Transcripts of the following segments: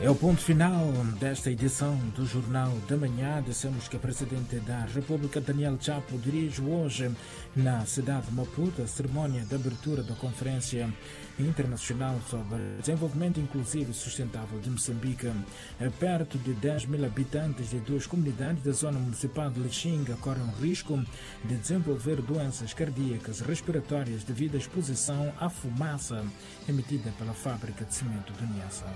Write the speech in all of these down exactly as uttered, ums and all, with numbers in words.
É o ponto final desta edição do Jornal da Manhã. Dissemos que a Presidente da República, Daniel Chapo, dirige hoje na cidade de Maputo a cerimónia de abertura da Conferência Internacional sobre Desenvolvimento Inclusivo e Sustentável de Moçambique. Perto de dez mil habitantes de duas comunidades da zona municipal de Lichinga correm o risco de desenvolver doenças cardíacas e respiratórias devido à exposição à fumaça emitida pela fábrica de cimento de Niassa.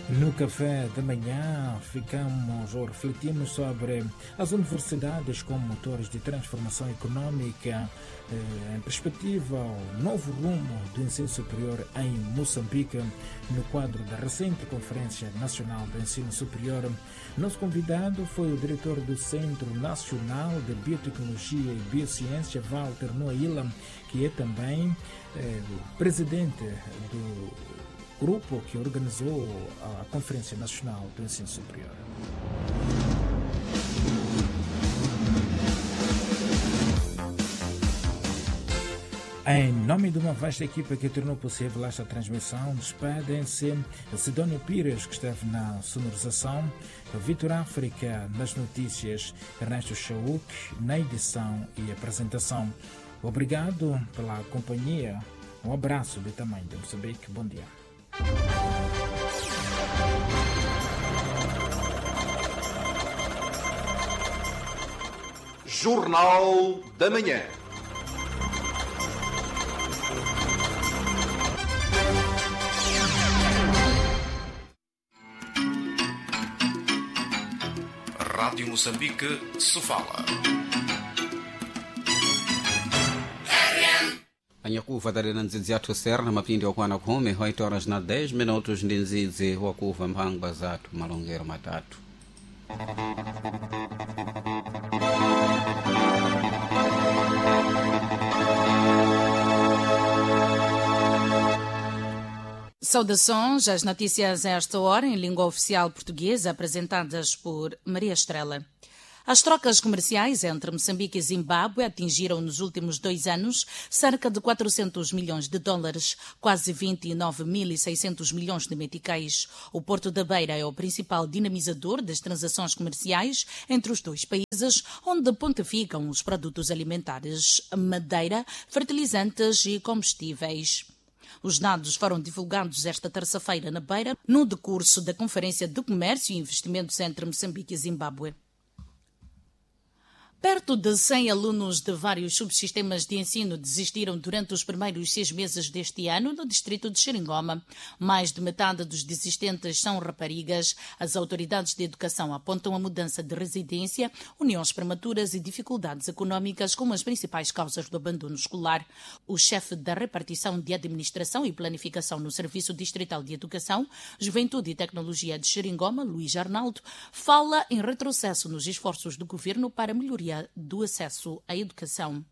No café da manhã ficamos ou refletimos sobre as universidades como motores de transformação econômica em perspectiva ao novo rumo do ensino superior em Moçambique, no quadro da recente Conferência Nacional do Ensino Superior. Nosso convidado foi o diretor do Centro Nacional de Biotecnologia e Biociência, Walter Noaila, que é também eh, presidente do grupo que organizou a Conferência Nacional do Ensino Superior. Em nome de uma vasta equipa que tornou possível esta transmissão, despedem-se Sidónio Pires, que esteve na sonorização, Vitor África nas notícias, Ernesto Chauk na edição e apresentação. Obrigado pela companhia. Um abraço de tamanho de Moçambique. Bom dia. Jornal da Manhã. Rádio Moçambique, Sofala. Anyakuva talena ndzidzi yathu serna mapindi okwana khumi oito horas na dez minutos ndi ndzidzi wakuva mphangwa zathu malongero matatu. Saudações às notícias a esta hora em língua oficial portuguesa, apresentadas por Maria Estrela. As trocas comerciais entre Moçambique e Zimbábue atingiram nos últimos dois anos cerca de quatrocentos milhões de dólares, quase vinte e nove mil e seiscentos milhões de meticais. O Porto da Beira é o principal dinamizador das transações comerciais entre os dois países, onde pontificam os produtos alimentares, madeira, fertilizantes e combustíveis. Os dados foram divulgados esta terça-feira na Beira, no decurso da Conferência de Comércio e Investimentos entre Moçambique e Zimbábue. Perto de cem alunos de vários subsistemas de ensino desistiram durante os primeiros seis meses deste ano no distrito de Xeringoma. Mais de metade dos desistentes são raparigas. As autoridades de educação apontam a mudança de residência, uniões prematuras e dificuldades econômicas como as principais causas do abandono escolar. O chefe da repartição de administração e planificação no Serviço Distrital de Educação, Juventude e Tecnologia de Xeringoma, Luís Arnaldo, fala em retrocesso nos esforços do governo para melhoria do acesso à educação.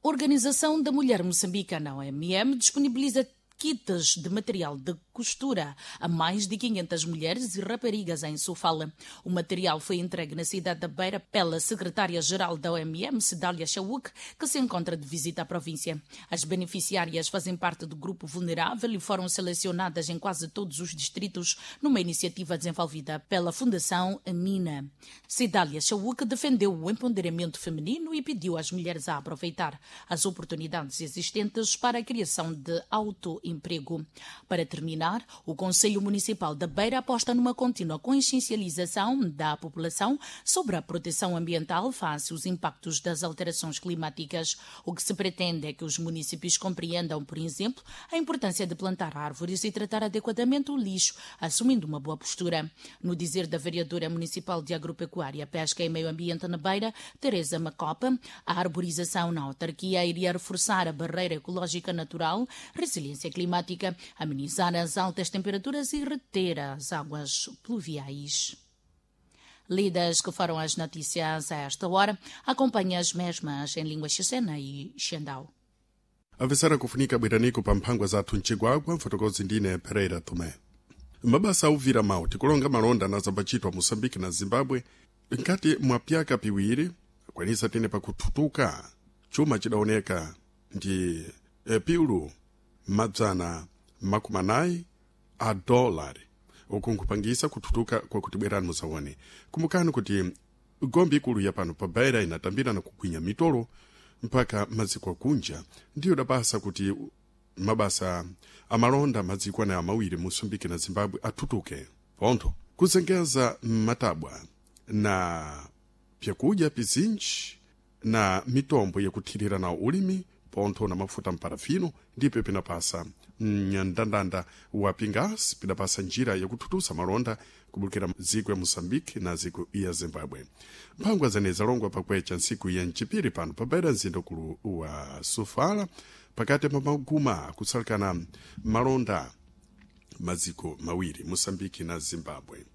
Organização da Mulher Moçambicana, O M M, disponibiliza kits de material de costura a mais de quinhentas mulheres e raparigas em Sofala. O material foi entregue na cidade da Beira pela secretária-geral da O M M, Sedália Chauk, que se encontra de visita à província. As beneficiárias fazem parte do grupo vulnerável e foram selecionadas em quase todos os distritos numa iniciativa desenvolvida pela Fundação Amina. Sedália Chauk defendeu o empoderamento feminino e pediu às mulheres a aproveitar as oportunidades existentes para a criação de auto emprego. Para terminar, o Conselho Municipal da Beira aposta numa contínua consciencialização da população sobre a proteção ambiental face aos impactos das alterações climáticas. O que se pretende é que os municípios compreendam, por exemplo, a importância de plantar árvores e tratar adequadamente o lixo, assumindo uma boa postura. No dizer da vereadora municipal de Agropecuária, Pesca e Meio Ambiente na Beira, Teresa Macopa, a arborização na autarquia iria reforçar a barreira ecológica natural, resiliência climática, climática, amenizar as altas temperaturas e reter as águas pluviais. Lidas que foram as notícias a esta hora, acompanhe as mesmas em língua xicena e xendau. Avisara kufunika bwiraniko pa mphangwa zathu mcigwagwa mfotokozi ndine Pereira Tomé. Mabasa auvira mawu tikulonga malonda na zambachitwa Moçambique na Zimbábue nkati mwa pyaka piwiri akwanisa tine pakuthutuka chuma chidaoneka ndi e, piulu madzana makumi anayi a dolari uku nkupangisa kuthutuka kwakuti bwerani muzaone. Kumbukani kuti gombe ikulu ya pano pa Beira inatambira na kugwinya mitolo mpaka maziko akunja, ndiyo dapasa kuti mabasa amalonda maziko anayo mawiri Moçambique na Zimbabwe athutuke pontho kuzengeza matabwa na pyakudya pizinji na mitombo yakuthirira nawo ulimi pontho na mafuta mparafino ndipo pinapasa mndandanda wa pingasi pidapasa njira yakuthuthusa malonda kubulukira ziko ya Moçambique na ziko ya Zimbabwe. Mphangwa zene zalongwa pakwecha ntsiku ya mchipiri pano pabaira mzinda ukulu wa Sofala pakati pa maguma akutsalikana malonda maziko mawiri Moçambique na Zimbabwe.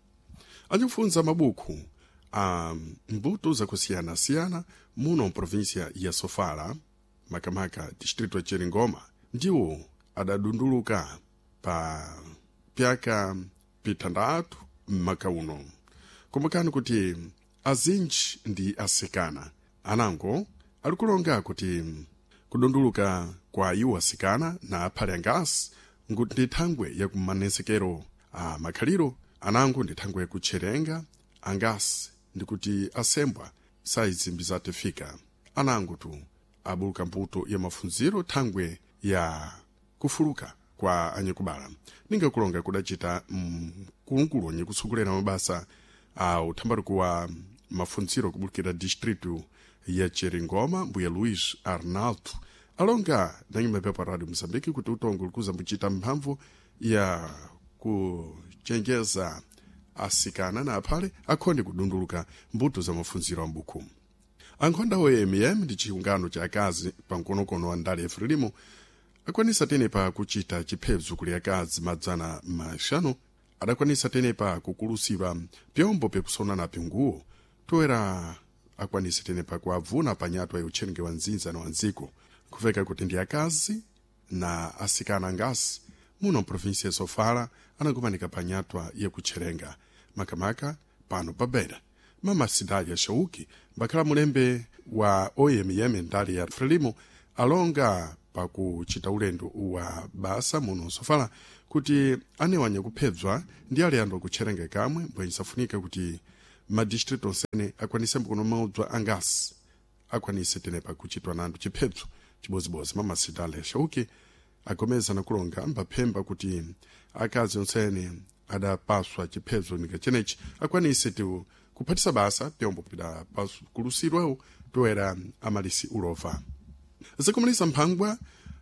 Anikufunza mabuku a mbuto zakusiyana-siyana muno mprovinsia ya Sofala makamaka distrito ya Cheringoma ndiwo adadunduluka pa pyaka pitandatu mmaka uno. Kumbukani kuti azinji ndi asikana anango alikulonga kuti kudunduluka kwa iwo asikana na aphale angasi nkuti ndi thangwe yakumanesekero a makhaliro anango ndi thangwe yakutcherenga angasi ndikuti asembwa saizimbi zatifika anango tu abuluka mbuto ya mafunziro thangwe ya kufuluka kwa anyakubala. Ningakulonga kudacita mkulukulu anyakutsokolera mabasa a uthambaruko wa mafunziro kubulukira distrito ya Cheringoma mbuya Luís Arnaldo alonga na nyumba ya Radio Moçambique kuti utongo likuza mbuchita mphamvu ya kuchenjeza asikana na aphale akhonde kudunduluka mbuto za mafunziro a mbuku. Ankhonda o M M ndi chiungano cha akazi pa mkonokono wa ndale Frelimo akwanisa tenepa kuchita chiphezo kuli akazi madzana maxanu adakwanisa tenepa kukulusiwa pyombo pyakusona na pinguwo toera akwanise tenepa kuavuna panyatwa ya utchenge wa nzinza na wanziko kuveka kuti ndi akazi na asikana angasi muno mprovinsia ya Sofala anakumanika panyatwa yakutcherenga makamaka pano pa Beira. Mama Sidalia Shauki mbakhala mulembe wa O M M ndali ya Frelimo alonga pakuchita ulendo wa basa muno Sofala kuti anewanya kuphedzwa ndi ale anthu akutcherenga kamwe mbwenye safunika kuti madistritu onsene akwanise mkono maudzwa angasi akwanise tenepa kuchitwa nanthu chiphedzo chibozibodzi. Mama Sidalia Shauki agomeza nakulonga mbaphemba kuti akazi onsene adapaswa chiphedzo nika chenechi akwanise tu kuphatisa basa pyombo pidapakulusidwawo toera amalisi ulova. Zikumalisa mphangwa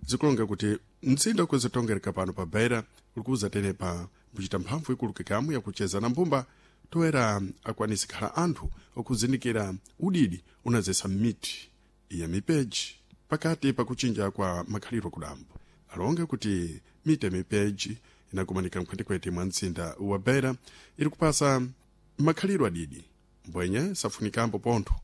zikulonga kuti mzinda ukuzitongereka pano pa Beira ulikuza tenepa mbuchita mphamvu ikuluke kamwe yakucheza na mbumba toera akwanise khala anthu okuzindikira udidi unazesa miti ya mipeji pakati pakuchinja kwa makhaliro kudambo. Alonga kuti miti ya mipeji inakumanika mkhwetikhweti mwa mzinda wa Beira iri kupasa makhaliro adidi mbwenye safunikambo pontho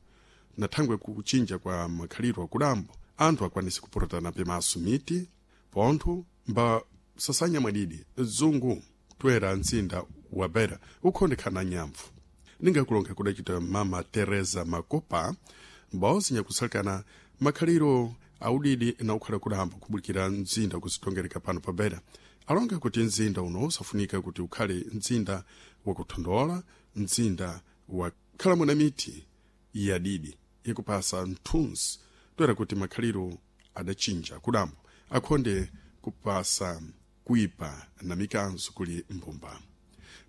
na thangwe kuchinja kwa makhaliro akudambo anthu akwanise kupurutana pemaso miti pontho mba sasanya mwadidi zungu toera mzinda wa Beira ukhondekhana nyamvu. Ningakulonga kudacita Mama Teresa Makopa mbaozi nyakusalikana makhaliro audidi na ukhala kudambo kubulikira mzinda kuzitongereka pano pa Beira. Alonga kuti mzinda uno usafunika kuti ukhale mzinda wakuthondola, mzinda wakhala muna miti yadidi yakupasa mthunzi toera kuti makhaliro adachinja kudambo akhonde kupasa kuipa na mikanzo kuli mbumba.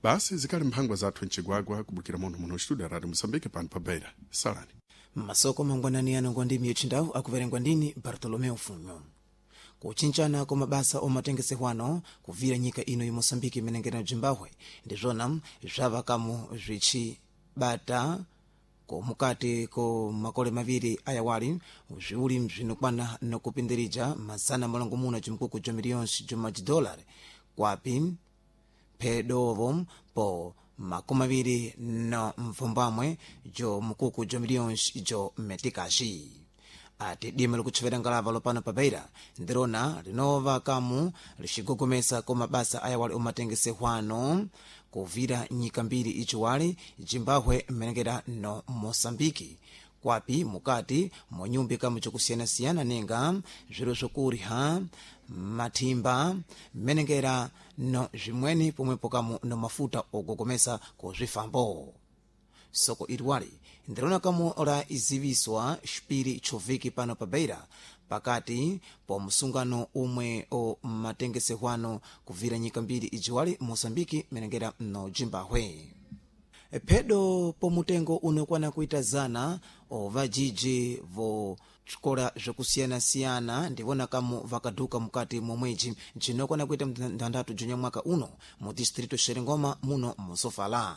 Basi zikali mphangwa zathu mchigwagwa kubukira muno muno studio Radio Moçambique pano pa Beira. Salani masoko mangwanani ano ngwa ndimi yotchindawu akuverengwa ndini Bartolomeu Funyo. Kuchinchana kwa mabasa omatengesehwano kuvira nyika ino ya Moçambique imenengera na Zimbabwe ndizvona zvavakamu zvichibata ko mukati ko makole maviri ayawali zviuli bzinokwana nokupindirija mazana malongomuna cimkuku ja miliyonse ja madolari kwapi phedovo po makumi maviri na mfumbamwe jo mkuku ja miliyonse jo metikaxi. Ati dima likutchevera ngalava lopano pa Beira ndirona linova kamu lixigogomesa ko mabasa ayawali omatengesehwano kuvira nyika mbiri ichiwali Zimbabwe mmenengera no Moçambique Kwapi mukati monyumbi kamu cokusiyanasiyana ninga zviro zvokurya, mathimba, menengera no zvimweni, pomwepo kamu no mafuta ogogomesa ku zwifambo. Soko iriwali ndirona kamu la iziviswa xipiri choviki pano pa Beira pakati po msungano umwe o matengesehwano kuvira nyika mbiri ijiwali, Moçambike menengera no Zimbabwe. Phedo po mutengo unokwana kuita zana ovajiji vo xikola zvokusiyanasiyana ndivona kamu vakaduka mukati momwedzi jinokwana kuita mthanthatu junya mwaka uno mu distrito Xerengoma muno musofala.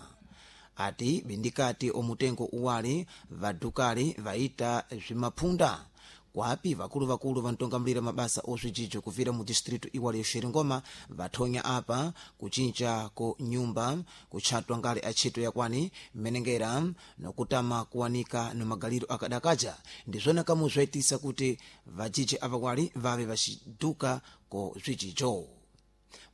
Ati bindikati omutengo uwali vadukali vaita zvimaphunda, kwapi vakulu-vakulu vantongamulira mabasa ozvijijo kuvira mu distrito iwali yoxeringoma vathonya apa kucinca ku nyumba kutchatwa ngale atchito yakwani menengera nokutama kuwanika no magaliro akadakaja, ndizvona kamu zvaitisa kuti vajiji avawali vave vaciduka ku zvijijo.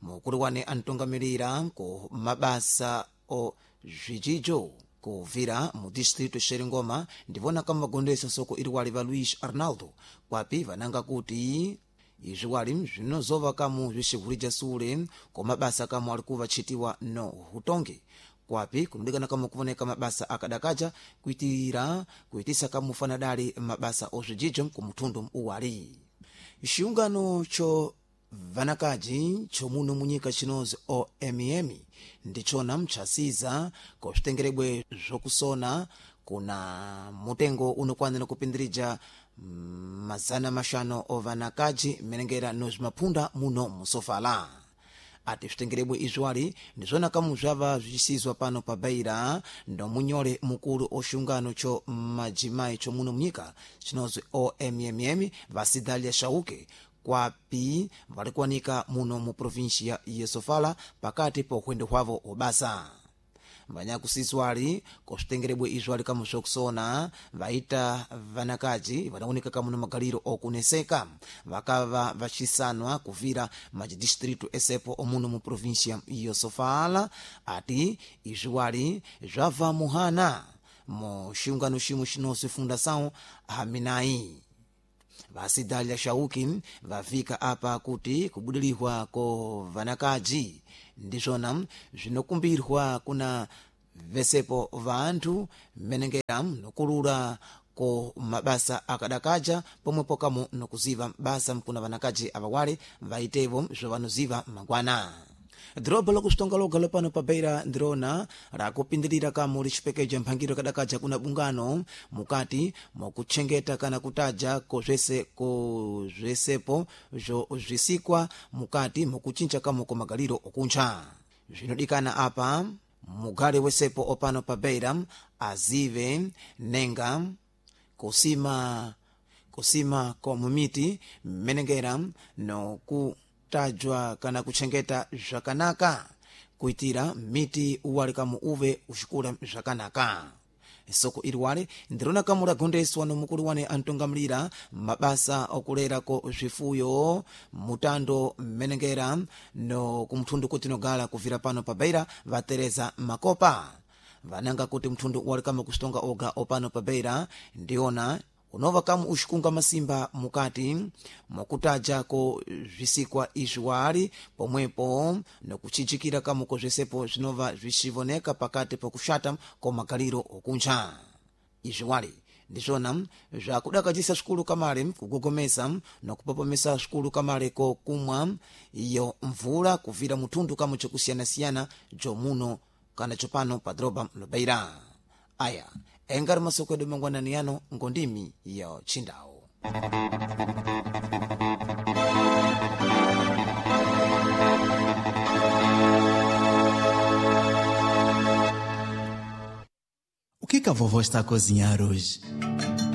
Mukulu wane antongamirira ku mabasa o zvijijo kuvira mu distrito Xeringoma ndivona kamagondesa soko iriwali va Luís Arnaldo, kwapi vananga kuti izviwali zvinozova kamu zvixihulija sule ko mabasa kamu ali kuvatchitiwa no hutongi, kwapi kunodikana kamu kuvoneka mabasa akadakaja kuitira kuitisa kamu fanadali mabasa ozvijijo ku muthundu uwali. Xiungano cho vanakaji chomuno munyika chinozi O M M ndichona mchasiza kozvitengerebwe zvokusona kuna mutengo unokwanira kupindirija mazana mashanu ovanakaji menengera nozvimaphunda muno musofala. Ati zvitengerebwe izviwali ndizvona kamu zvava zvichisizwa pano pa Beira ndomunyole mukulu oxungano cho majimayi chomuno munyika chinozwi O M M M Vasidalia Shauke, kwapi valikuwanika muno mu provinsia ya Sofala pakati pa uhwendo hwavo obasa. Vanyakusiswali kosvitengerebwe izvo ali kamu zvokusona vaita vanakaji vanaoneka kamu na magaliro okuneseka vakava vacisanwa kuvira machidistritu esepo omuno mu provinsia ya Sofala. Ati izviwali zvabva muhana mu xiungano ximwe xinozi Fundação Haminai. Vasidalia Shauki vavika apa kuti kubudilihwa ko vanakaji ndizvona zvinokumbirwa kuna vesepo vanthu menengera nokulula ko mabasa akadakaja, pomwepo kamu nokuziva basa kuna vanakaji avawale vaitevo zvovanoziva mangwana. Dhorobha lokuxitonga loga lopano pa Beira ndirona rakupindirira kamu lixipekeja mphangiro kadakaja kuna bungano mukati mokutchengeta kana kutaja kozvese kozvesepo zvo zvisikwa mukati mokucinca kamu komagaliro okuntcha. Zvinodikana apa mugale wesepo opano pa Beira azive nenga kusima kusima komumiti mmenengera noku tajwa kana kutchengeta zvakanaka kuitira miti uwali kamu uve uxikula zvakanaka. Soko iliwale ndirona kamu lagondeswa nomukulu wane antongamulira mabasa okulerako zvifuyo mutando mmenengera no kumthundu kuti nogala kuvira pano pa Beira vatereza Makopa, vananga kuti mthundu uwali kamu kuxitonga oga opano pa Beira ndiona unova kamu uxikunga masimba mukati mokutajako zvisikwa izviwali, pomwepo nokucijikira kamu kozvesepo zvinova zvicivoneka pakati pokuxata komagaliro okuntcha. Izviwali ndizvona zvakudakajisa svikulu kamale kugogomesa nokupopomesa svikulu kamale kokumwa iyo mvula kuvira muthundu kamu cokusiyanasiyana jomuno kana copano pa dhoroba lobeira. Aya engari masoko edu mangwanani yano ngondimi ya Chindau. O que que a vovó está a cozinhar hoje?